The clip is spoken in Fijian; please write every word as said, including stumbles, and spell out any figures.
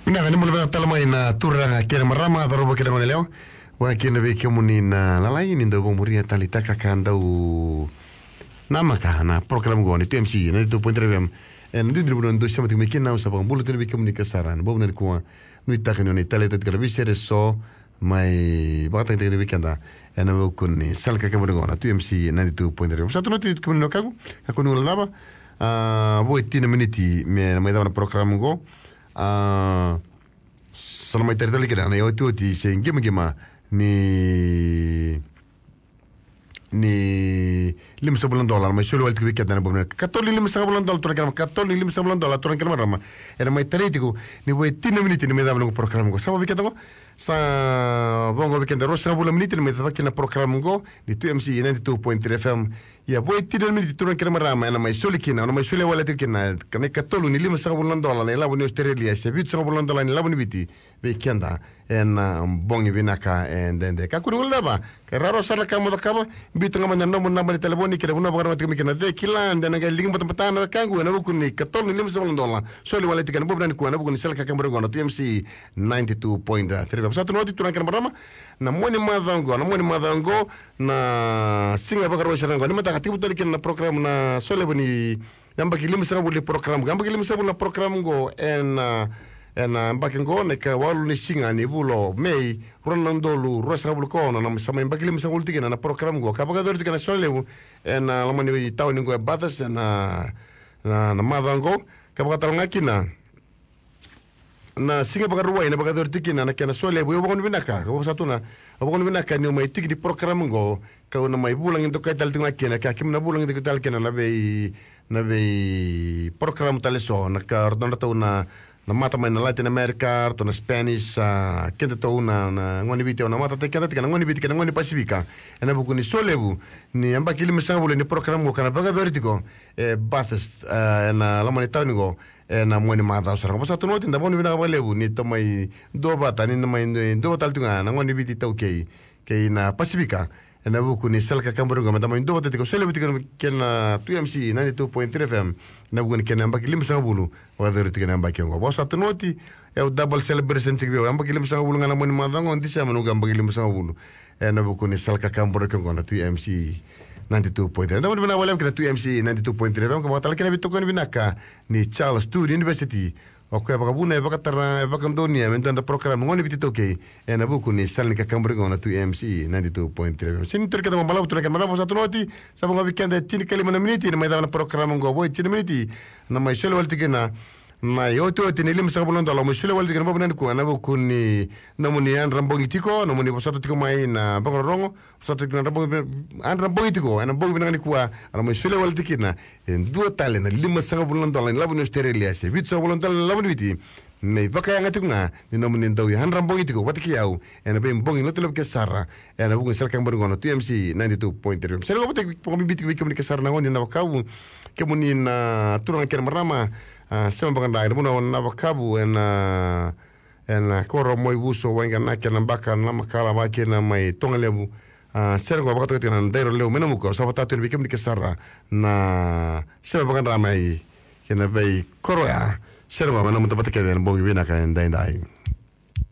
Vinaka, ni bula vinaka tale mai na turaga kei na marama, cauravou kei na goneyalewa. Vakakina vei kemuni na lalai ni dau vakamuria taleitaka ka dau namaka na program qo ni two M C ninety-two point three F M. Ena duidui ni vanua dou sema tiko mai kina, au sa vakabula tu vei kemuni ka sara ena bogi vinaka nikua. Nuitaka ni o ni taleitaka tiko na veisere eso mai vakatagitaki vei keda ena vuku ni sala ka kemuni qo na two M C ninety-two point three F M. Sa tu na oti kemuni na wekaqu, kakua ni guilecava. A, vo e tini na miniti me na mai cava na program qo. A, sa na mai tari tale kina na iotioti se qimaqima ni, ni limasagavulu na dola na mai soli wale tiko vei keda ena bogi vinaka. Katolu ni limasagavulu na dola, turaga kei na marama, katolu ni limasagavulu na dola, turaga kei na marama. Ena mai tarai tiko ni vo e tini na miniti ni mai cava na noqu program qo. Sa vo vei keda, sa vo vei keda ruasagavulu na miniti ni mai cava kina na program qo ni two M C ninety-two point three F M. Ia, vo e tini na miniti, turaga kei na marama, ena mai soli kina, o na mai soli wale tiko kina na ikatolu ni limasagavulu na dola na ilavo ni Australia se vitusagavulu na dola na ilavo ni Viti vei keda ena bogi vinaka edaidai. Kakua ni guilecava, ka rawarawa sara na ka mo cakava. Biuta ga mai na nomu naba ni talevoni kei na vanua vakarorogo tiko mai kina, de kila de na qai liga batabata na wekaqu ena vuku ni katolu ni limasagavulu na dola soli wale tiko ena bogi vinaka nikua ena vuku ni sala ka kemuni qo na two M C ninety-two point three F M. Sa tu na oti, turaga kei na marama, na mua ni macawa qo, na mua ni macawa qo, na siga Vakarauwai sara qo, ni mataka tekivu tale kina na program na solevu ni yabaki limasagavulu ni program qo. Yabaki limasagavulu na program qo ena, ena yabaki qo na ikawalu ni siga ni vula o Me, rua na udolu ruasagavulu ka ono, na sa mai yabaki limasagavulu tiko kina na program qo ka vakayacori tiko ena solevu ena loma ni tauni qo e Bathurst ena, na, na macawa qo. Ka vakatalega kina na siga Vakarauwai na vakayacori tiko kina na kena solevu. Au vakavinavinaka, au vakasa tu na, au vakavinavinaka niu mai tiki ni program qo, kau na mai vulagi dokai tale tiko ga kina, ka keimami na vulagi dokai tale kina na vei, na vei program tale eso, na ka ratou na, na mata mai na Latin America, ratou na Spanish, a, kedatou na, na gone ni Viti, au na matataki keda tiko na gone ni Viti kei na gone ni Pasifika ena vuku ni solevu ni yabaki limasagavulu ni program qo ka na vakayacori tiko e Bathurst, a, ena loma ni tauni qo ena mua ni macawa sara qo. Vakasa tu na oti, da vakavinavinaka vakalevu ni tou mai duavata, ni da mai duavata tale tu ga na gone ni Viti iTaukei kei na Pasifika ena vuku ni sala ka kemuni qo, me da mai duavata tiko, solevu tiko kei na two M C ninety-two point three F M ena vuku ni kena yabaki limasagavulu vakayacori tiko ena yabaki qo. Vakasa tu na oti, e au double celebration tiko vei au, yabaki limasagavulu ga na mua ni macawa qo, December noqu yabaki limasagavulu ena vuku ni sala ka kemuni qo na two M C ninety-two point three. Da vakavinavinaka vakalevu kei na two M C ninety-two point three F M, ka vakatalega kina na veitokoni vinaka ni Charles Sturt University, o koya e vakavuna, e vakatara, e vakadonuya me dua na program gone ni Viti iTaukei ena vuku ni sala ni ka kemuni qo na two M C ninety-two point three F M. Sega ni tu vei keda vakabalavu, turaga kei na marama, vakasa tu na oti, sa vo ga vei keda e tinikalima na miniti ni mai cava na program qo. Vo e tini na miniti na mai soli wale tiko kina na iotioti ni limasagavulu na dola, mai soli wale tiko kina ena bogi vinaka nikua ena vuku ni nomuni yadra bogi tiko, nomuni vosota tiko mai na vakarorogo, vosota tiko na yadra bogi, yadra bogi tiko ena bogi vinaka nikua, a na mai soli wale tiko kina e dua tale na limasagavulu na dola na ilavo ni Australia se vitusagavulu na dola na ilavo ni Viti, me vakayaga tiko ga ni nomuni dau yadra bogi tiko vata kei au ena veibogi lotu levu kece sara ena vuku ni sala ka kemuni qo na two M C ninety-two point three F M. Sere qo vata, vakabibi tiko vei kemuni kece sara na gone ni Navakavu, kemuni na turaga kei na marama, a, sema vakadra ena vanua o Navakavu, ena, ena koro Moivuso, Waiganaki, Nabaka, Namakala, vaka kina mai Togalevu. A, sere qo vakatoka tiko na Dairo Levu mai Namuka. Au sa vakatau tu yani vei kemuni kece sara na sema vakadra mai kina veikoro ya. Sere qo me na muta vata kece ena bogi vinaka edaidai.